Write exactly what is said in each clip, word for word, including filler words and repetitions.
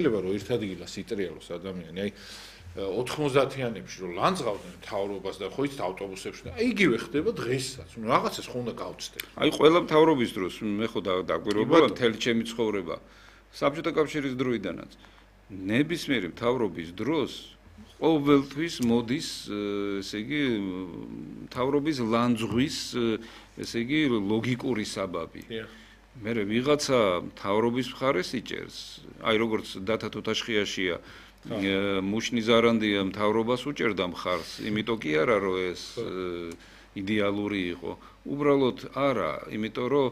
შეიძლება რომ ერთ ადგილას იტრიალოს ადამიანი, აი ოთხმოცდათიანებში რომ ლანძღავდნენ მთავრობას და ხო იცით ავტობუსებში და იგივე ხდება დღესაც. ნუ რაღაცას ხო უნდა გავწდეთ. აი ყველა მთავრობის დროს მე ხო დაგვირგვება მთელი ჩემი ცხოვრება საბჭოთა კავშირის დროიდანაც ნებისმიერი მთავრობის დროს ყოველთვის მოდის ესე იგი მთავრობის ლანძღვის ესე იგი ლოგიკური საბაბი. მე ვიღაცა მთავრობის მხარეს იჭერს, აი როგორც დათა თუთაშხიაშია მუშნი ზარანდია მთავრობას უჭერდა მხარს, იმიტომ კი არა რომ ეს იდეალური იყო. უბრალოდ არა, იმიტომ რომ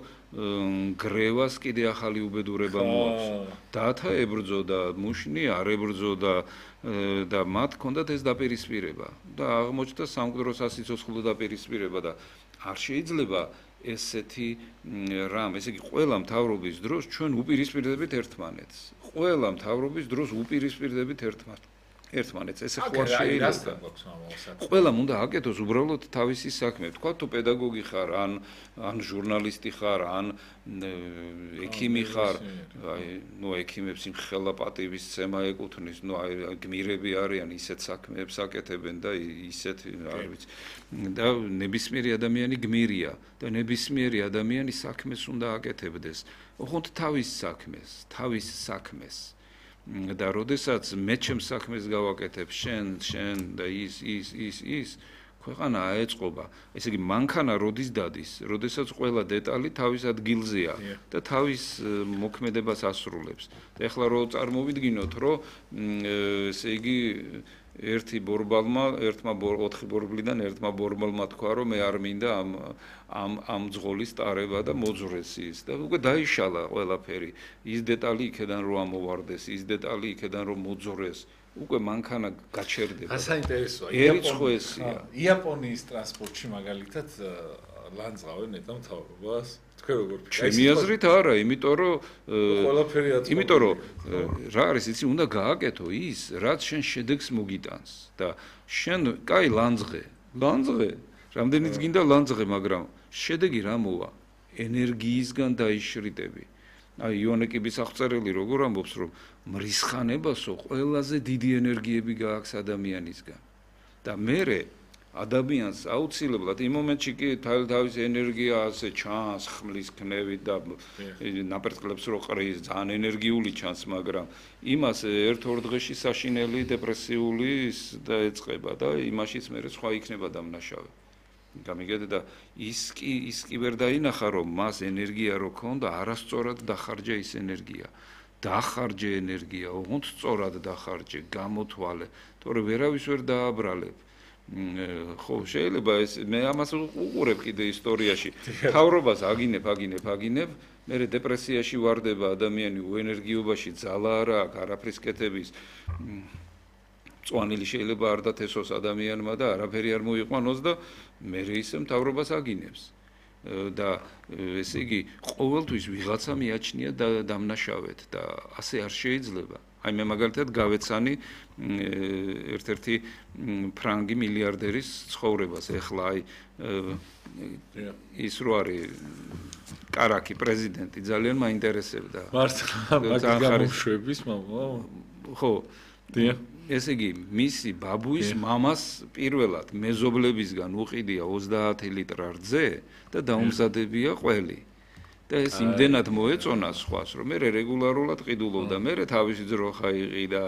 გრევას კიდე ახალი უბედურება მოაქვს. დათა ებრძოდა, მუშნი არ ებრძოდა და მათ ჰქონდათ ეს დაპირისპირება და აღმოჩნდა სამკვდრო სასიცოცხლო დაპირისპირება და არ შეიძლება ესეთი რამ, ესე იგი ყველა მთავრობის დროს ჩვენ უპირისპირდებით ერთმანეთს. ყველა მთავრობის დროს უპირისპირდებით ერთმანეთს. ერთმანეთს ესე ხო არ შეიძლება. ყველამ უნდა აკეთოს უბრალოდ თავისი საქმე. თქვა თუ პედაგოგი ხარ, ან ან ჟურნალისტი ხარ, ან ექიმი ხარ, აი, ნუ ექიმებს იმ ხელა პატივისცემა ეკუთვნის, ნუ აი გმირები არიან, ისეთ საქმეებს აკეთებენ და ისეთ არ ვიცი. და ნებისმიერი ადამიანი გმირია და ნებისმიერი ადამიანი საქმეს უნდა აკეთებდეს. ოღონდ თავის საქმეს, თავის საქმეს. და როდესაც მე ჩემს საქმეს გავაკეთებ შენ შენ და ის ის ის ის ქვეყანა აეწყობა ესე იგი მანქანა როდის დადის როდესაც ყველა დეტალი თავის ადგილზეა და თავის მოქმედებას ასრულებს და ეხლა რო წარმოვიდგინოთ რომ ესე იგი ერთი ბორბალმა ერთმა ოთხი ბორბლიდან ერთმა ბორბალმა თქვა რომ მე არ მინდა ამ ამ ამ ძღოლის ტარება და მოძრეს ის და უკვე დაიშალა ყველაფერი ის დეტალი იქიდან რომ ამოვარდეს ის დეტალი იქიდან რომ მოძრეს უკვე მანქანა გაჩერდება საინტერესოა იაპონია იაპონიის ტრანსპორტში მაგალითად ლანძღავენ ნეტა მთავრობას თქვენ როგორ ჩემი აზრით არა იმიტომ რომ ყველაფერი აწყვეტილი იმიტომ რომ რა არის იცი უნდა გააკეთო ის რაც შენ შედეგს მოგიტანს და შენ კაი ლანძღე ლანძღე რამდენიც გინდა ლანძღე მაგრამ შედეგი რა მოვა ენერგიისგან დაიშრიტები აი იონეკების აღწერილი როგორ ამბობს რომ მრისხანებასო ყველაზე დიდი ენერგიები გააქვს ადამიანისგან და მე ადამიანს აუცილებლად იმ მომენტში კი თავის ენერგია ასე ჩანს ხმლის ქნევით და ნაპერწკლებს რო ყრის ძალიან ენერგიული ჩანს მაგრამ იმას ერთ-ორ დღეში საშინელი დეპრესიული და ეწყება და იმაშიც მე სხვა იქნება დამნაშავე გამიგეთ და ის კი ის კი ვერ დაინახა რომ მას ენერგია რო ქონდა არასწორად დახარჯა ის ენერგია დახარჯე ენერგია ოღონდ სწორად დახარჯე გამოთვალე თორე ვერავის ვერ დააბრალებ ხო შეიძლება ეს მე ამას უყურებ კიდე ისტორიაში თავრობას აგინებ აგინებ აგინებ მე დეპრესიაში ვარდება ადამიანი უენერგიობაში ძალა არა აქვს არაფრის კეთების წვანილი შეიძლება არ დათესოს ადამიანმა და არაფერი არ მოიყვანოს და მე ისე მთავრობას აგინებს და ესე იგი ყოველთვის ვიღაცა მიაჩნია დამნაშავედ და ასე არ შეიძლება აი მე მაგალითად გავეცანი ერთ-ერთი ფრანგი მილიარდერის ცხოვრებას ეხლა აი ის რო არის კარაკი პრეზიდენტი ძალიან მაინტერესებდა მართლა მაგ გამოშვების მამა ხო დიახ ესე იგი მისი ბაბუის მამას პირველად მეზობლებისგან უყიდია ოცდაათი ლიტრ რძე და დაუმზადებია ყველი და ეს იმდენად მოეწონა სხვას რომ მე რეგულარულად ყიდულობდა მე თავისი ძროხა იყიდა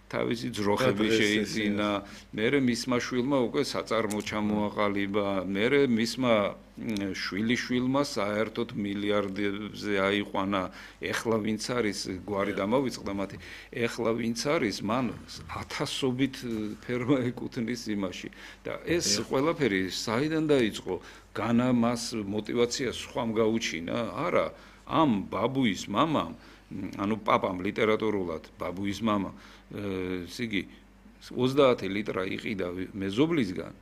თავისი ძროხები შეიძინა მე მისმა შვილმა უკვე საწარმო ჩამოაყალიბა მე მისმა შვილიშვილმა საერთოდ მილიარდებზე აიყვანა ეხლა ვინც არის გვარი დამოვიწყდა მათი ეხლა ვინც არის მან ათასობით ფერმა ეკუთვნის იმაში და ეს ყველაფერი საიდან დაიწყო განა მას მოტივაცია სხვამ გაუჩინა არა ამ ბაბუის მამამ ანუ პაპამ ლიტერატურულად ბაბუის მამა ესე იგი ოცდაათი ლიტრა იყიდა მეზობლისგან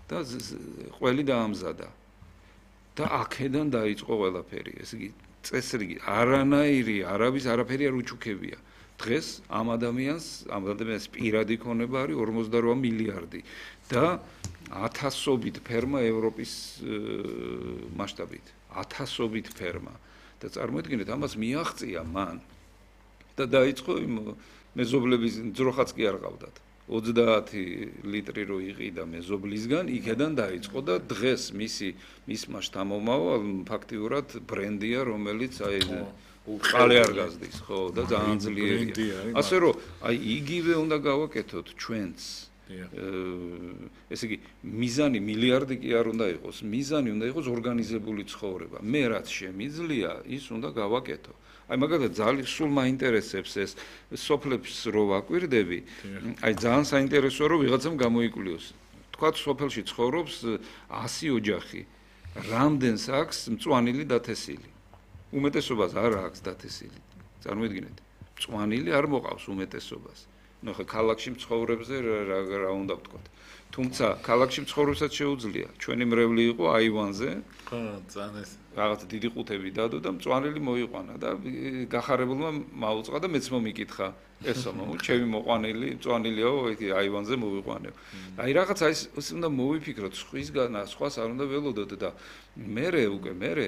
და ყველი დაამზადა და აქედან დაიწყო ყველაფერი ესე იგი წესრიგი არანაირი არავის არაფერი არ უჩუქებია დღეს ამ ადამიანს ამ ადამიანს პირადი ქონება არის ორმოცდაოთხ მილიარდი და ათასობით ფერმა ევროპის მასშტაბით ათასობით ფერმა და წარმოიდგინეთ ამას მიაღწია მან და დაიწყო იმ მეზობლების ძროხაც კი არ ყავდათ. ოცდაათი ლიტრი რო იყიდა მეზობლისგან, იქედან დაიწყო და დღეს მისი მისმა შთამომავა ფაქტიურად ბრენდია, რომელიც აი ყალე არ გაზდის, ხო, და ძალიან ძლიერია. ასე რომ, აი იგივე უნდა გავაკეთოთ ჩვენც. ესე იგი, მიზანი მილიარდი კი არ უნდა იყოს, მიზანი უნდა იყოს ორგანიზებული ცხოვრება. მე რაც შემიძლია, ის უნდა გავაკეთო. აი მაგალითად ძალიან სულ მაინტერესებს ეს სოფლებს რო ვაკვირდები, აი ძალიან საინტერესოა რომ ვიღაცამ გამოიკვლიოს. თქვათ სოფელში ცხოვრობს ასი ოჯახი. რამდენს აქვს მწვანილი დათესილი? უმეტესობას არ აქვს დათესილი. წარმოიდგინეთ. მწვანილი არ მოყავს უმეტესობას. ნუ ხა ქალაქში მცხოვრებზე რა რა უნდა ვთქვათ. თუმცა ქალაქში მცხოვრებსაც შეუძლია. ჩვენი მრევლი იყო აივანზე. ხო, ძალიან ეს რაღაც დიდი ყუთები დადო და მწვანილი მოიყვანა და გახარებულმა მაუწყა და მეც მომიკითხა ესო მომუ ჩემი მოყვანილი მწვანილიაო აივანზე მოვიყვანებ. აი რაღაც აი ეს უნდა მოვიფიქროთ სხვისგან სხვას არ უნდა ველოდოთ და მერე უკვე მერე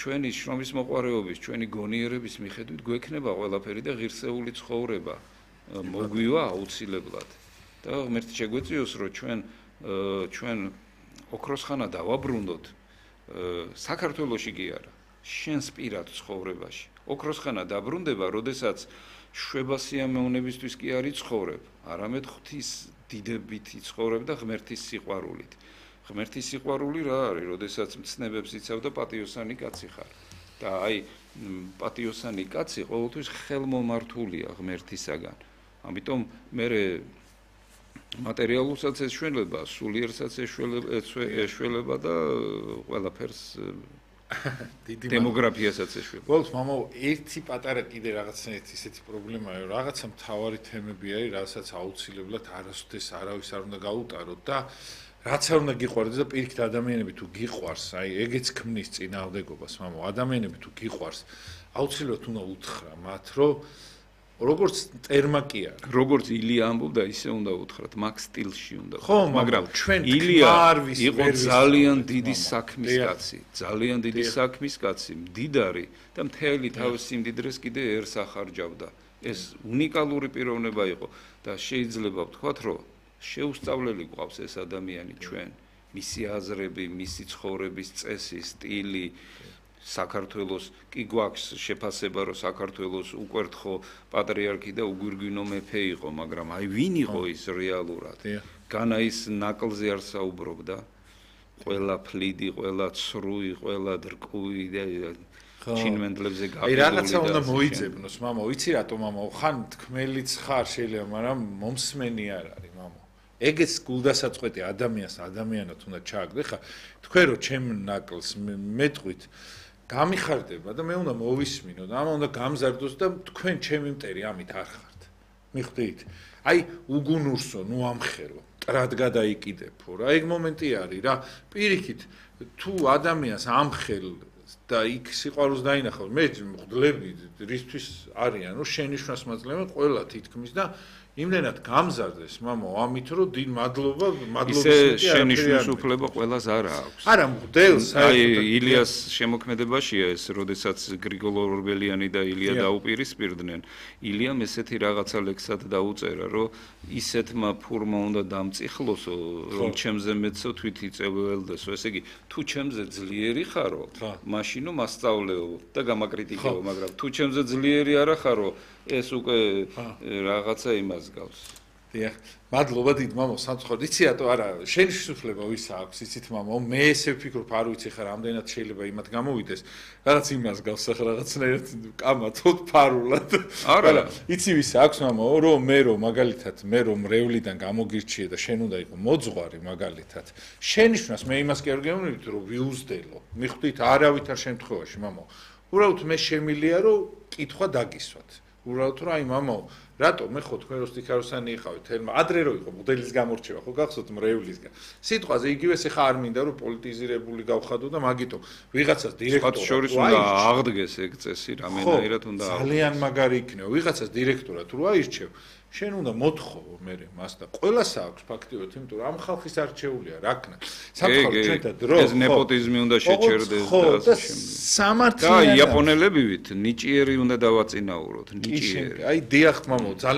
ჩვენი შრომის მოყვარეობის, ჩვენი გონიერების მიხედვით გვექნება ყველაფერი და ღირსეული ცხოვრება მოგვივა აუცილებლად. და ღმერთი შეგვეწიოს რომ ჩვენ ჩვენ ოქროსხანა დავაბრუნდოთ საქართველოში კი არა შენს პირად ცხოვრებაში ოქროსხანა დაბრუნდება როდესაც შვებასიამოვნებისთვის კი არ იცხოვრებ არამედ ღვთის დიდებით იცხოვრებ და ღმერთის სიყვარულით ღმერთის სიყვარული რა არის როდესაც მცნებებს იცავ და პატიოსანი კაცი ხარ და აი პატიოსანი კაცი ყოველთვის ხელმომართულია ღმერთისაგან ამიტომ მე მატერიალურსაც ეშველება, სულიერსაც ეშველება და ყველაფერს დემოგრაფიასაც ეშველება. ბოლოს მამო, ერთი პატარა კიდე რაღაცნაირად ისეთი პრობლემაა, რომ რაღაცა მთავარი თემები არის, რასაც აუცილებლად არასოდეს არავის არ უნდა გაუტაროთ და რაც არ უნდა გიყვარდეს და პირიქით ადამიანები თუ გიყვარს, აი ეგეც ქმნის წინააღმდეგობას, მამო, ადამიანები თუ გიყვარს, აუცილებლად უნდა უთხრა მათ, რომ როგორც ტერმა კი არა. როგორც ილია ამბობდა, ისე უნდა უთხრათ, მაგ სტილში უნდა. ხო, მაგრამ ჩვენ ილია იყო ძალიან დიდი საქმის კაცი, ძალიან დიდი საქმის კაცი, მდიდარი და მთელი თავის სიმდიდრეს კიდე ერს ახარჯავდა. ეს უნიკალური პიროვნება იყო და შეიძლება ვთქვათ, რომ შეუსწავლელი გვყავს ეს ადამიანი ჩვენ, მისი აზრები, მისი ცხოვრების წესი, სტილი საქართველოს კი გვაქვს შეფასება რომ საქართველოს უკვერთხო პატრიარქი და უგვირგვინო მეფე იყო, მაგრამ აი ვინ იყო ის რეალურად? განა ის ნაკლზე არ საუბრობდა. ყველა ფლიდი, ყველა ცრუი, ყველა დრკუი და ჩინმენდლებზე გაფრთხილებული. აი რაღაცა უნდა მოიძებნოს, მამა, ვიცი რატო მამა, ხან თქმელიც ხარ შეიძლება, მაგრამ მომსმენი არ არის, მამა. ეგეც გულდასაწყვეტი ადამიანს ადამიანად უნდა ჩააგდე, ხა თქვენ რომ ჩემ ნაკლს მეტყვით გამიხარდება და მე უნდა მოვისმინო და ამა უნდა გამზარდოს და თქვენ ჩემი მტერი ამით არ ხართ. მიხვდით? აი უგუნურსო, ნუ ამხელო, ტრად გადაიკიდებო რა. ეგ მომენტი არის რა. პირიქით თუ ადამიანს ამხელ და იქ სიყვარულს დაინახავს, მე მღვდლები რისთვის არიან, რომ შენიშვნას მაძლევენ ყველა თითქმის და იმდენად გამზარდეს, მამო, ამით რომ დიდ მადლობა, მადლობის მეტი ისე შენიშვნის უფლება ყველას არ აქვს. არა, მღვდელს აი ილიას შემოქმედებაშია ეს, როდესაც გრიგოლ ორბელიანი და ილია დაუპირისპირდნენ. ილიამ ესეთი რაღაცა ლექსად დაუწერა, რომ ისეთმა ფურმა უნდა დამწიხლოსო, რომ ჩემზე მეცო თვით იწეველდესო. ესე იგი, თუ ჩემზე ძლიერი ხარო, მაშინო მასწავლეო და გამაკრიტიკეო, მაგრამ თუ ჩემზე ძლიერი არა ხარო, ეს უკვე რაღაცა იმას გავს. დიახ, მადლობა დიდ მამო, სამწუხაროდ იცი რატო არა, შენ შესაძლებლობა ვის აქვს, იცით მამო, მე ესე ვფიქრობ, არ ვიცი ხარ, რამდენად შეიძლება იმათ გამოვიდეს, რაღაც იმას გავს ახლა რაღაცნაირად კამათოდ ფარულად. არა, იცი ვის აქვს მამო, რომ მე რომ მაგალითად, მე რომ მრევლიდან გამოგირჩიე და შენ უნდა იყო მოძღვარი მაგალითად. შენიშვნას მე იმას კი არ გეუბნებით, რომ ვიუზდელო. მიხვდით, არავითარ შემთხვევაში, მამო. უბრალოდ მე შემილია, რომ კითხვა დაგისვათ. უბრალოდ რომ აი მამო რატო მე ხო თქვენ რო სტიქაროსანი იყავით თელმა ადრე რო იყო მოდელის გამორჩევა ხო გახსოვთ მრევლისგან სიტყვაზე იგივე ეხა არ მინდა რომ პოლიტიზირებული გავხადო და მაგითო ვიღაცას დირექტორად შორის უნდა აღდგეს ეგ წესი რამენაირად უნდა ძალიან მაგარი იქნება ვიღაცას დირექტორად რო აირჩევ შენ უნდა მოთხოვო მე მას და ყველას აქვს ფაქტიურად იმიტომ რომ ამ ხალხის არჩეულია რაკნა სამხარო ჩვენთან დრო ეს ნეპოტიზმი უნდა შეჩერდეს და სამართლიანი და იაპონელებივით ნიჭიერი უნდა დავაწინაუროთ ნიჭიერი აი დიახ მამო ძალიან